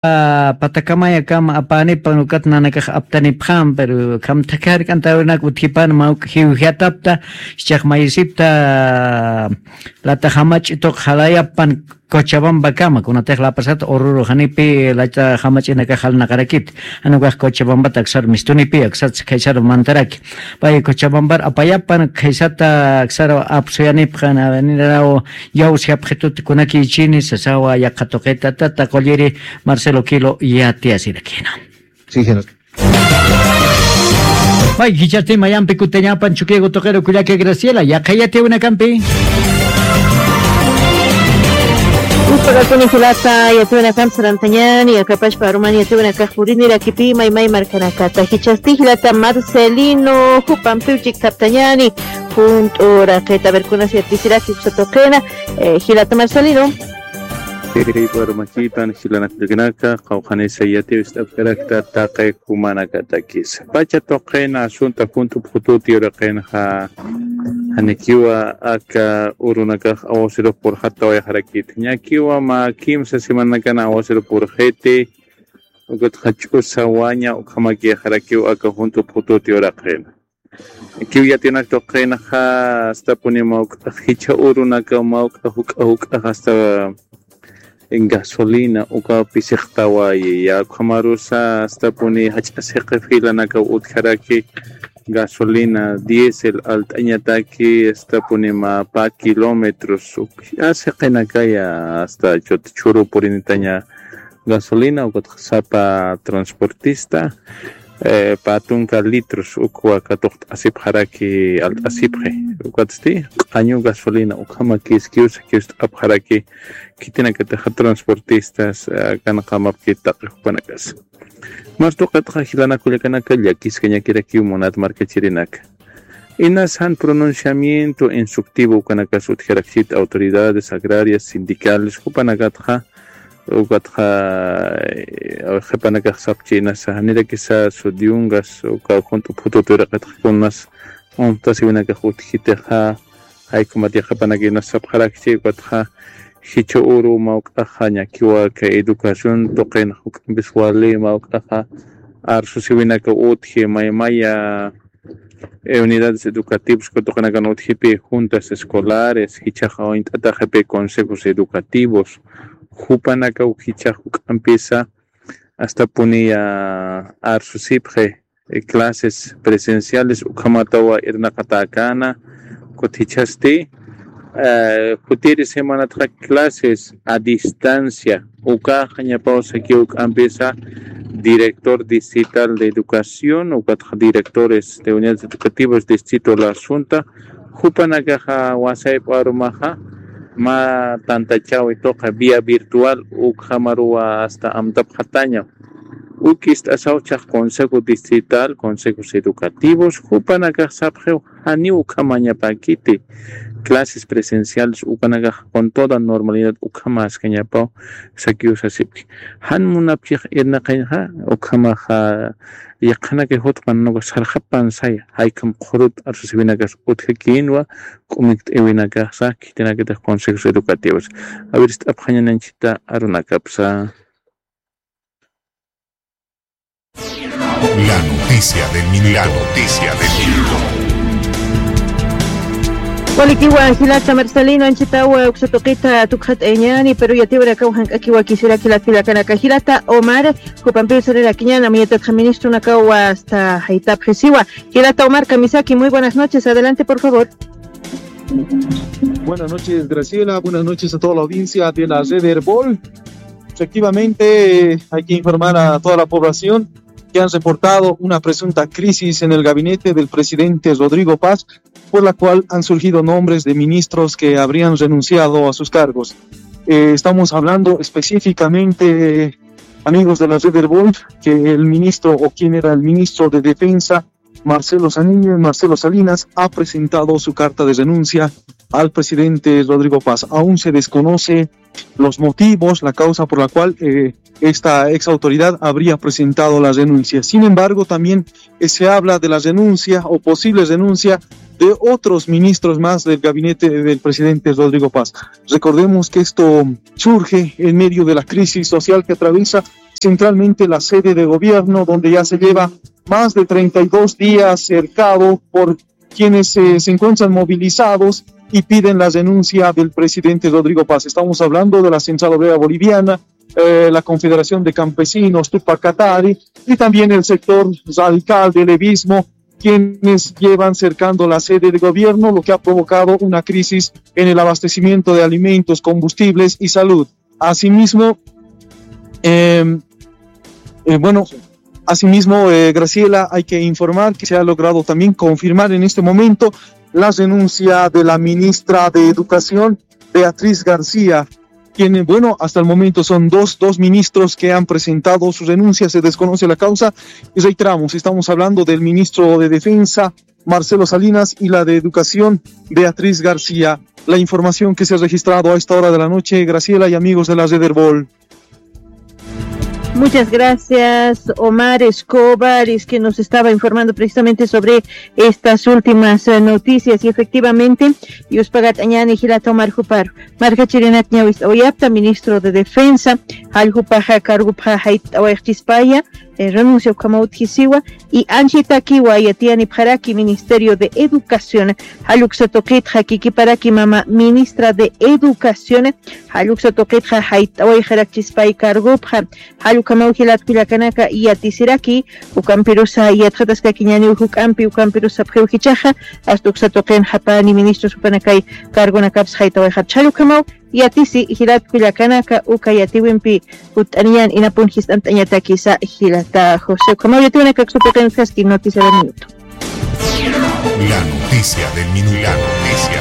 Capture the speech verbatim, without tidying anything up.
Patakamaya kama apanipan ukat nanakax aptanipan, pero kamthakark'antawinak utjipan mawk jiwjatapta, ischaq mayisipta lata jamach'ituq jalayapan Cochabamba kama, kunatix lapasat ururu janipi lata jamach'inakax jalnaqarakit, anukax Cochabamba taksar mistunipi aksat khaysar mantaraki. Pay Cochabambar apayapan khaysata aksar apsuyanipxan avenidaraw yawsi apxitut kunaki ichini sasawa yaqha tuqita tata qulliri Marcelo Kilo yatiyasirakina. Pay jichasti mayampi kutañapan chukiyagu tuqiru kullaka Graciela yaqha yatiyawinakampi. Uspagakuni jilata yatiyawinakampi sarantañani akapashpa arumani yatiyawinakax purinirakipi maymay markanakata jichasti jilata Marcelino jupampiw chiktaptañani. Junt'u raqita a ver kunas yatisiraki uksa tuqina. Jilata Marcelino. Warmakipan jilanakllakanaka qawqhanisa yatiwist'apkarakta taqi jumanakatakisa pacha tuqina asunta junt'u phututi uraqinxa. Janikiwa aka urunakax awasirux purxattawayxarakiti ñakiwa mä kimsa semananakan awasirux purxiti. Ukatxa ch'usa waña ukhamakixarakiw aka junt'u phututi uraqina. Kiw yatinak tuqinxa astapuni mawk'ax jichha urunaka mawk'a juk'a juk'ax asta gasolina uka pisixtawayi ya ukhamarusa astapuni jach'a siqi filanakaw utjaraki. Gasolina diésel alt'añataki astapuni mä pä kilómetros uk siqinakaya asta chut chhuru purinitaña. Gasolina ukatxa sapa transportista pä tunka litros ukwa katuqt'asipxaraki alt'asipxi. Ukatsti q'añu gasolina ukhama kiskiw sakiw ist'apxaraki. Khitinakatixa transportistas kanqamapkit taqi jupanakas. Martuqatxa jilanakullakanaka llakiskañakirakiw munat markachirinaka. Inas jan pronunciamiento instructivo ukanakas utjarakchit autoridades agrarias sindicales jupanakatxa ukatxa qhipanakax sapchi inasa janirakisa sudiyungas uka junt'u phututu iraqitxa kunas untasiwinakax utjitixa. Jaykumat yaqapanaka inas sapxarakchi ukatxa jichha uru mawk'axa ñakiwa aka educación tuqinax juk'ampis wali mawk'axa arsusiwinaka utji maymaya unidades educativos katuqinakan utjipi juntas escolares jichhaxa uñt'ataxipi consejos educativos jupanakaw jichhax juk'ampisa astapuniya arsusipxi. Clases presenciales ukhamatawa irnaqatäkäna. Kutichasti jutiri semanatxa clases a distancia ukaxa ñapaw sakiw k'ampisa director distrital de educación ukatxa directores de unidades educativas distrito la asunta jupanakaxa wasayp'u arumaxa mä tantachawi tuqi vía virtual ukhamaruwa asta amtapxataña. Uk ist'asaw chhax consejo distrital consejos educativos jupanakax sapxiw janiw ukhamañapäkiti clases presenciales ukanakax con toda normalidad ukhamaskañapaw sakiw sasipki. Jan munapchix irnaqañxa ukhamaxa yaqhanakay jutpan nuka sarxapan saya jaykham qhurut arsusiwinakas utjakïnwa k'umikt'iwinakaxa khitinakatix consejos educativos. Awirist'apxañananchita arunakapsa. La noticia del minuto. La noticia del minuto. Walikiwa jilata Marcelino anchitawa uksa tuqita tukxat'ayañani pero yatiwirakaw jank'akiwa kisiraki latpilakanaka jilata Omar. Jupampiw sarirakiñan amuyatatxa ministronakaw asta jaytapxisiwa. Jilata Omar Kamisaki, muy buenas noches, adelante por favor. Buenas noches, Graciela. Buenas noches a toda la audiencia de la red Erbol. Efectivamente, hay que informar a toda la población que han reportado una presunta crisis en el gabinete del presidente Rodrigo Paz, por la cual han surgido nombres de ministros que habrían renunciado a sus cargos. Eh, estamos hablando específicamente, amigos de la red Erbol, que el ministro o quien era el ministro de Defensa, Marcelo Salinas, Marcelo Salinas ha presentado su carta de renuncia al presidente Rodrigo Paz. Aún se desconoce los motivos, la causa por la cual eh, esta ex autoridad habría presentado la renuncia. Sin embargo, también eh, se habla de la renuncia o posible renuncia de otros ministros más del gabinete del presidente Rodrigo Paz. Recordemos que esto surge en medio de la crisis social que atraviesa centralmente la sede de gobierno, donde ya se lleva más de treinta y dos días cercado por quienes eh, se encuentran movilizados y piden la renuncia del presidente Rodrigo Paz. Estamos hablando de la Central Obrera Boliviana, eh, la Confederación de Campesinos, Tupac Katari, y también el sector radical del Evismo, quienes llevan cercando la sede de gobierno, lo que ha provocado una crisis en el abastecimiento de alimentos, combustibles y salud. Asimismo, eh, eh, bueno, asimismo, eh, Graciela, hay que informar que se ha logrado también confirmar en este momento la renuncia de la ministra de Educación, Beatriz García, quien, bueno, hasta el momento son dos, dos ministros que han presentado su renuncia, se desconoce la causa, y reiteramos, estamos hablando del ministro de Defensa, Marcelo Salinas, y la de Educación, Beatriz García. La información que se ha registrado a esta hora de la noche, Graciela y amigos de la Red Erbol. Muchas gracias, Omar Escobar, es que nos estaba informando precisamente sobre estas últimas eh, noticias. Y efectivamente, yuspagat añani jilata Omar Jupar, marka chirinat ñawis oyapta, ministro de Defensa, jalljupaja cargupja jait awayxchispaya, eh, renuncia ukhama utjisiwa, y anchitakiwa yatiyanipxaraki Ministerio de Educación, jalluksa tuqitxa kikiparaki mama ministra de Educación, jalluksa tuqitxa jait awayxarakchispay cargupja, jallukamaw jilat kullakanaka yatisiraki, ukampirusa yatxataskaki ñaniw juk'ampi, ukampirusa sapxiw jichaxa, hasta uksa tuqin japani ministros jupanakay cargonakaps jait awayxapcha, jallukamaw yatisi jilat kullakanaka, uka yatiwimpi jutt'aniyan inapun jist'ant'añatakisa jilata José. Ukhamaw yatiwanakak supiqinkaski noticia de minuto. La noticia del minuto. La noticia